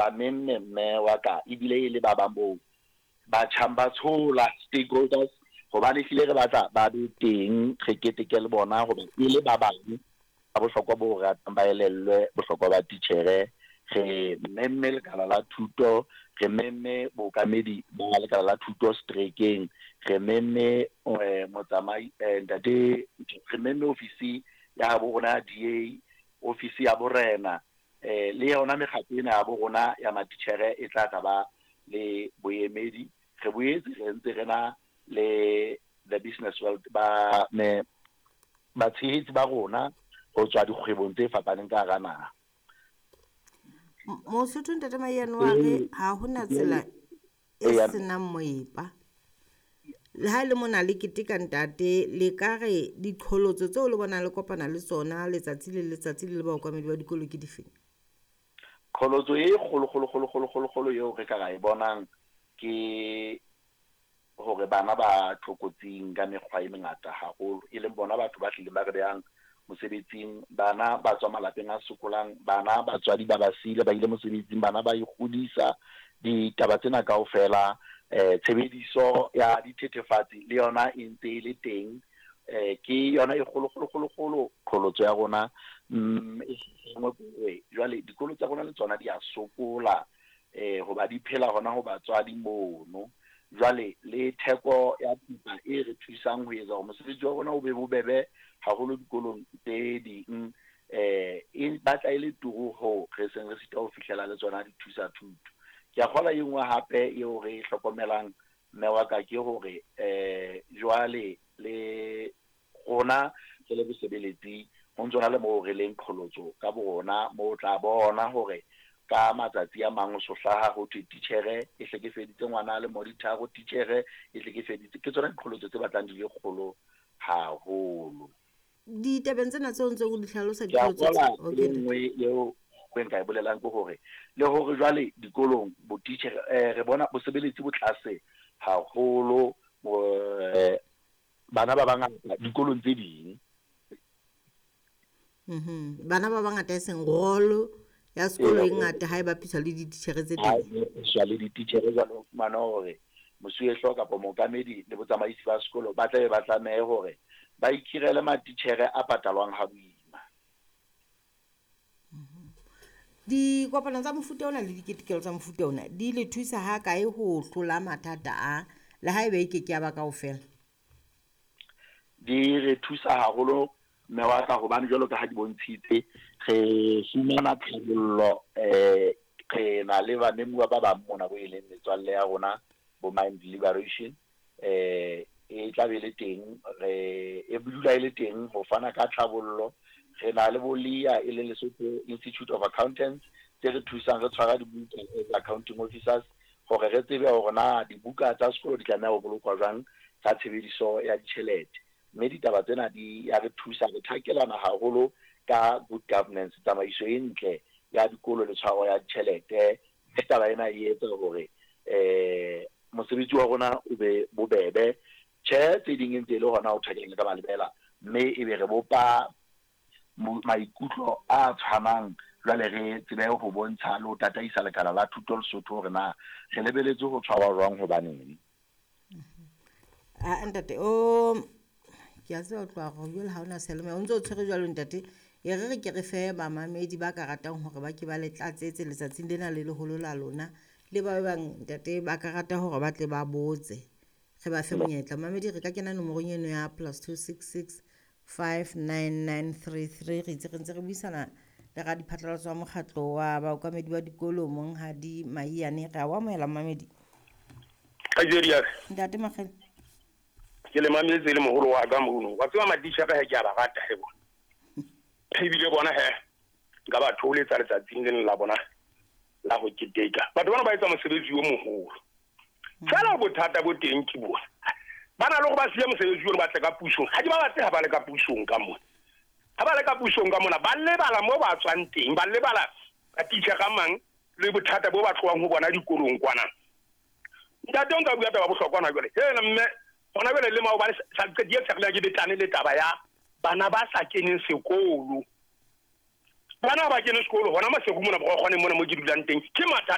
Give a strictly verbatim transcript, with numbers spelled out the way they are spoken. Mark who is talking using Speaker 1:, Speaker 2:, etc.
Speaker 1: Ba memme mme wa ka, ebile e le ba bang bo batjhang ba tshola stakeholders, hobane ehlile re batla ba be teng, re keteke le bona hoba e le ba bang ba bohlokwa bo ratang ba elellwe bohlokwa ba titjhere. Re memme lekala la thuto, re memme bookamedi ba lekala la thuto seterekeng, re memme eh, motsamai eh, ntate, re memme ofisi ya bo rona ya D A, ofisi ya borena, eh, le yona mekgatlo ena ya bo rona ya matitjhere e tla tla ba le boemedi. Re boetse re ntse re na le the business world ba me batshehetsi ba rona ho tswa dikgwebong tse fapaneng ka hara naha.
Speaker 2: Mosotho ntate Maiyane wa re ha hona tsela e senang moepa. Le ha le mona le keteka ntate, le ka re diqholotso tseo le bonang le kopana le tsona letsatsi le letsatsi le le baokamedi ba dikolo ke dife?
Speaker 1: Qholotso e kgolo kgolo kgolo kgolo kgolo kgolo eo re ka ra e bonang ke hore bana ba tlokotsing ka mekgwa e mengata haholo, e leng bona batho ba hlileng ba re behang mosebetsing. Bana ba tswa malapeng a sokolang, bana batswadi ba ba siile ba ile mosebetsing, bana ba ikgodisa. Ditaba tsena kaofela, eh tshebediso ya dithethefatsi le yona e ntse e le teng, eh ke yona e kgolo kgolo kgolo kgolo qholotso ya rona. Mm e jwale dikolo tsa rona le tsona di a sokola, eh hoba di phela hona ho batswadi mono. Jwale le theko ya thipa e re thusang ho etsa hore mosebetsi wa rona o be bobebe haholo dikolong tse ding, eh e batla e le turu ho re seng re sita ho fihlela le tsona dithusa thuto. Ke a kgolwa e nngwe hape eo re e hlokomelang mme wa ka ke hore eh jwale le rona re le bosebeletsi ho ntso na le moo re leng qholotso ka borona, moo o tla bona hore ka matsatsi a mang o so hlaha ho thwe titjhere e hlekefeditse ngwana le mo ditharo, titjhere e hlekefeditse. Ke tsona diqholotso tse batlang di le kgolo haholo.
Speaker 2: Ditabeng tsena tseo ntse o di hlalosa
Speaker 1: Ke a
Speaker 2: diqholotso tse-
Speaker 1: kgolwa
Speaker 2: okay,
Speaker 1: e nngwe eo ke nka e bolelang ke hore le hore jwale dikolong bo titjhere, eh, re bona bosebeletsi bo tlase haholo, eh, bana ba bangata dikolong tse ding.
Speaker 2: Mhm. Bana ba bangata e seng rolo ya sekolo e ngata ha e bapiswa le dititjhere tse
Speaker 1: Ha
Speaker 2: teng.
Speaker 1: e bapiswa le dititjhere, jwale o fumana hore mosuwehlooho kapa mookamedi le botsamaisi ba sekolo ba tlabe ba tlamehe hore ba ikhirele matitjhere a patalwang ha boima.
Speaker 2: Dikopano tsa mofuta ona le diketekelo tsa mofuta ona di le thusa ha kae ho hlola mathata a, le haeba e ke ke ya ba kaofela?
Speaker 1: Di re thusa haholo mme wa ka, hobane jwalo ka ha di bontshitse re fumana tlhabollo, eh re na le bamemuwa ba bang mona bo e leng metswalle ya rona bo Mind Liberation, eh e tla be le teng, re e dula e le teng ho fana ka tlhabollo. Re na le bo L I A e leng Lesotho Institute of Accountants tse re thusang re tshwara dibuka as accounting officers hore re tsebe hore na dibuka tsa sekolo di tlameha ho bolokwa jwang ka tshebediso ya ditjhelete. Mme ditaba tsena di ya re thusa, re thakelana haholo ka good governance, tsamaiso e ntle ya dikolo le tshwaro ya ditjhelete. Mme taba ena e etsa hore eh mosebetsi wa rona o be bobebe. Tjhe, tse ding e ntse e le hona ho thakelana ka malebela, mme e be re bopa maikutlo a tshwanang, jwale re tsebe ho bontsha le ho tataisa lekala la thuto Lesotho hore na re lebeletse ho tshwarwa jwang hobaneng.
Speaker 2: Ah, ntate, o ke a tseba o tloha hore jwale ha ona seyalemoya, o ntso o tshwere jwalo ntate. E re re ke re fe bamamedi ba ka ratang hore ba ke ba le tlatsetse letsatsing lena le leholo la lona, le ba bang ntate ba ka rata hore ba tle ba botse, re ba fe monyetla. Mamedi, re ka kena nomorong eno ya plus two six six five nine nine three three. Re itse re ntse re buisana le radiphatlalatso wa mokgatlo wa baokamedi ba dikolo Monghadi Maiyane. Re a o amohela mamedi.
Speaker 3: Kajeno ya ka.
Speaker 2: Ntate Makgele.
Speaker 3: Ke le mametse le moholo wa ka mono. Wa tseba matitjhere he ke a ba rata he bona. Ebile bona he nka ba thoholetsa letsatsing lena la bona la ho keteka. Batho bana ba etsa mosebetsi o moholo. Feela bothata bo teng ke bona. Ba na le hore ba siye mosebetsi ono ba tle ka pusong. Ha ke ba batle ha ba le ka pusong ka mona. Ha ba le ka pusong ka mona, ba lebala moo ba tswang teng, ba lebala matitjhere a mang le bothata bo ba tlohang ho bona dikolong kwana. Ntate o nka bua taba bohlokwa hona jwale. Hela mme, hona jwale le maobane sa qetile tshelela ke betlane le taba ya bana ba sa keneng sekolo. Bana ba kene sekolo hona Maseru mona Borokgwane mona mo ke dulang teng. Ke mathata